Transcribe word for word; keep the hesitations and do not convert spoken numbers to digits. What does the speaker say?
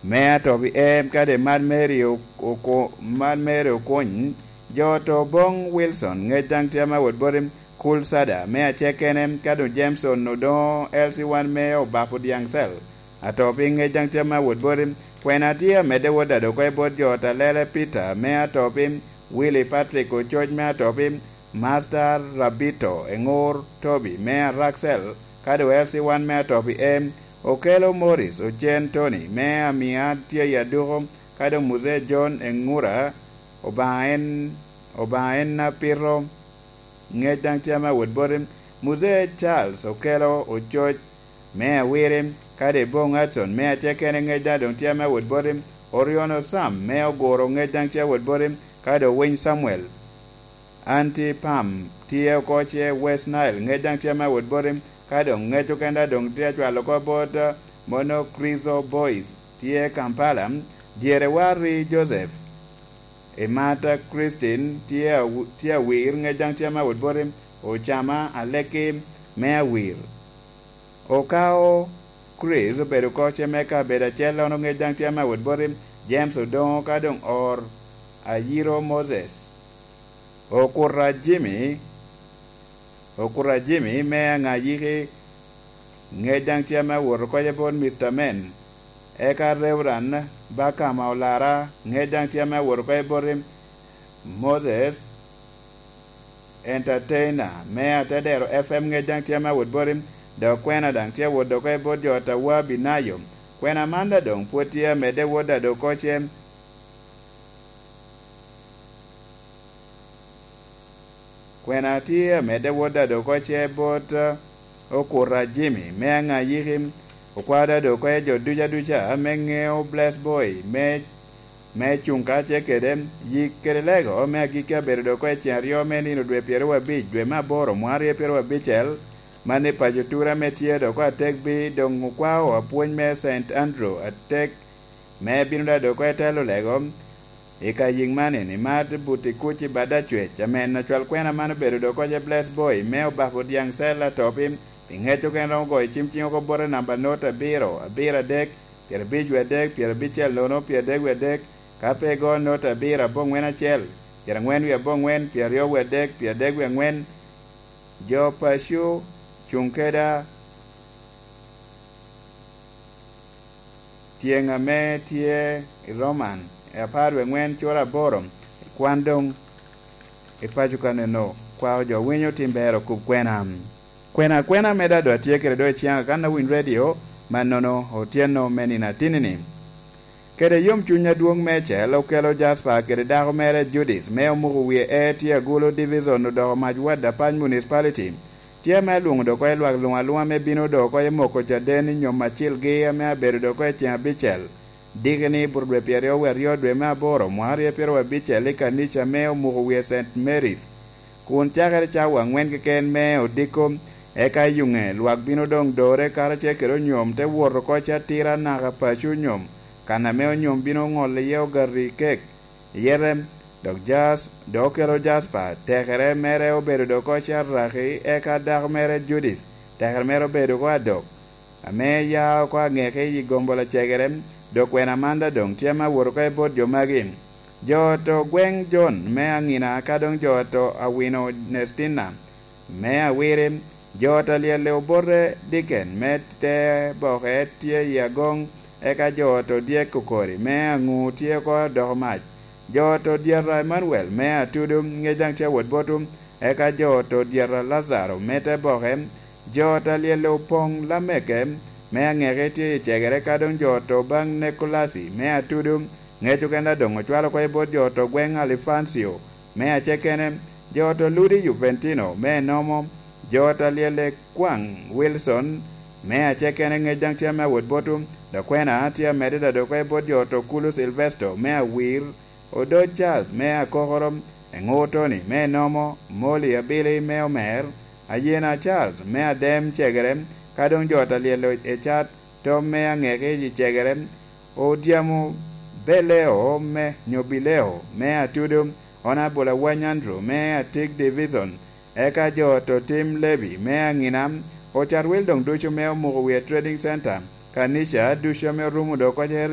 Me atop i em kadi Mad Mary Oko-, Mad Mary Okuny, jo oto Bong Wilson, ŋec daŋ tye ame awot boti, Kul Sada me acekene, ka doŋ Jameson Odongo L C one me Obapo Dyaŋ Cell, atop i ŋec daŋ tye ame awot boti, kwena tye amedde wot ado oko i bot jo Talele Peter me atop i Willy Patrick Ococ me atop i Master Rabito Eŋur Toby me Araxel, ka doŋ L C one me atop i em, Okelo Morris Ocen Tony me Amia tye i Aduko, ka doŋ Muzee John Eŋura, Obaŋa en, Obaŋa en apito, ŋec daŋ tye ame awot boti, Muzee Charles Okelo Ococ me Awiri, ka doŋ Bong Hudson me Acekene ŋec daŋ doŋ tye ame awot boti, Oriono Sam me Oguro ŋec daŋ tye awot boti, ka doŋ Winy Samuel Anti Pam tye oko ce West Nile, ŋec daŋ tye ame awot boti, ka doŋ ŋec okene daŋ doŋ tye acwalo oko bot, eh, Monokrizo Boys tye Kampala, dyere Warri Joseph, Imata Christine tye aw-, tye Awir, ŋec daŋ tye ame awot boti, Ocama Aleki me Awir. Okao Chris obedo oko ce me kabedo acel, ono ŋec daŋ tye ame awot boti, James Odongo, ka doŋ Or Ayiro Moses. Okuta Jimmy, Okuta Jimmy me Aŋayiki, ŋec daŋ tye ame awot oko ce bot Mister Men. Eka Reverend Bakama Olara, ŋec daŋ tye ame awot oko ce boti, Moses Entertainer me Atedero F M, ŋec daŋ tye ame awot boti, dok kwena daŋ tye awot oko ce bot jo Tawa Binayo. Kwena man daŋ doŋ pwod tye amedde wot ado oko ce. Kwena tye amedde wot ado oko ce bot, eh, Okuta Jimmy me Aŋayiki, okwao ado oko ce jo duca duca ame ŋeo Bless Boy me, me cuŋ ka ce kede yik kede lego me agikki abedo ado oko ce ceŋ aryo me nino dwe pyeraryo abic dwe me aboro mwaka aryo pyeraryo abicel, man i paco Tura ame tye ado oko atek bi doŋ okwao apwony me Saint Andrew atek me bino daŋ ado oko ce telo lego i ka yiŋ man, i Mad Buti Kuc i Bad Acwec. Amen. Acwal kwena man obedo ado oko ce Bless Boy me Obapo Dyaŋ Cell atop i, i ŋec okene romo goyo cim ciŋ oko bote namba not abiro, abiro adek, pyerabic wie adek, pyerabicel nono, pyeradek wie adek, ka pe igo not abiro aboŋwen acel, pyerangwen wie aboŋwen, pyeraryo wie adek, pyeradek wie angwen, jo paco cuŋ keda tyeŋ ame tye i Roman, i apar wie ŋwen cura aboro, kwan doŋ i paco kaneno, kwao jo winyo tim ber okub kwena. Kwena, kwena me dado atye kede do i ciŋa kan awiny redio, mannono otyeno me nino atinni-ni. Kede yomcuny adwoŋ meicel okelo Jasper kede dako mere Judith me omuko wie e tye agulu Division odoko mac wad Apac Municipality. Tye ame alwoŋo dok oko i lwak luŋ alwoŋa me bino dok oko i moko caden i nyom acilgi ame abedo dok oko i ceŋ abicel. Diki ni i buto dwe pyeraryo wie aryo dwe me aboro mwaka aryo pyeraryo abicel i kanica me omuko wie Saint Mary's. Kun cakere cawa aŋwen keken me odiko, eka i yuŋe lwak bino doŋ dore karacel kede onyom te wot oko catira naka paco onyom, kan ame onyom bino ŋolo iye ogati kek. Yete, dok Jas-, dok okelo Jasper, tekere mere obedo dok oko carraki, eka dako mere Judith, tekere mere obedo oko adok, ame ya oko aŋeke i gombola cegere, dok kwena man daŋ doŋ tye ame awot oko i bot jo magi. Jo oto gweŋ Jon me Aŋina, ka doŋ jo oto Awino Nestina me Awiri, jo oto alyelle obote Diken me te boke tye i agoŋ, eka jo oto dyek okori me aŋu tye oko doko mac. Jo oto dyeta Emanuel me Atudu, ŋec daŋ tye awot botu, eka jo oto dyeta Lazaro me te boke, jo oto alyelle opoŋ Lameke me aŋeke tye i cegere, ka doŋ jo oto baŋ Nekolasi me Atudu, ŋec okene doŋ ocwalo oko i bot jo oto gweŋ Alifancio me acekene, jo oto Ludi Juventino me enomo, jo oto alyelle kwaŋ Wilson me acekene, ŋec daŋ tye ame awot botu, dok kwena tye amedde dok oko i bot jo oto Kulu Silvesto me Awir, Odoc Charles me Akokoro, Eŋur Tony me enomo, Molly Abili me Omer, Ayena Charles me Adem Cegere, ka doŋ jo oto alyelle Ecat, Tom me aŋeke i Cegere, Odyamo Beleo me, nyo Bileo me Atudo, Honourable Awany Andrew me Atik Division, eka jo oto Tim Levy me Aŋina, ocat wil doŋ ducu me omuko wie Trading Center, kanica ducu ame orumo dok oko area